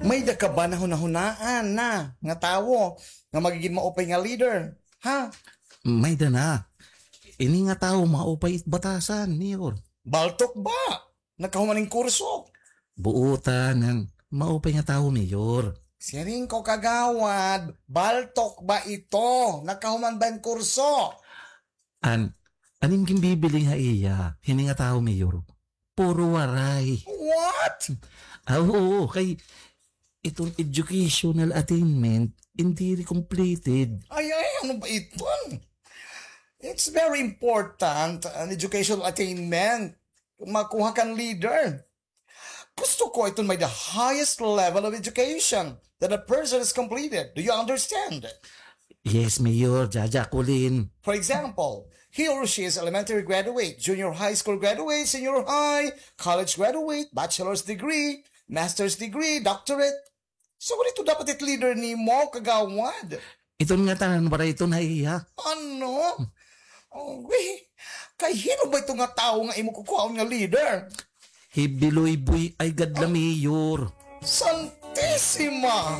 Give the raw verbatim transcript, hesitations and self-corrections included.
May-ada ka ba nahunahunaan na nga tawo nga magigin maupay nga leader? Ha? May-ada na. Ini nga tawo maupay it batasan, Mayor. Baltok ba? Nakahuman hin kurso? Buotan, an maupay nga tawo, Mayor. Siring ko, Kagawad, baltok ba ito? Nakahuman ba hin kurso? An, an im ginbibiling ha iya, hini nga tawo, Mayor, puro Waray. What? Ah, oo, kay iton educational attainment, diri completed. Ay, ay, ano ba iton? It's very important, an educational attainment. Kung makuha kan leader. Gusto ko iton may the highest level of education that a person has completed. Do you understand? Yes, Mayor. Jaja, kulin. For example, he or she is elementary graduate, junior high school graduate, senior high, college graduate, bachelor's degree, master's degree, doctorate. So, ano ito dapat it leader nimo, Kagawad? Iton nga tanan, para iton ha iya. Ano? Uy, kay hin-o ba ito nga tawo nga imo kukuhaon nga leader? Hi Biloy Boy Aygad la, Mayor. Santisima!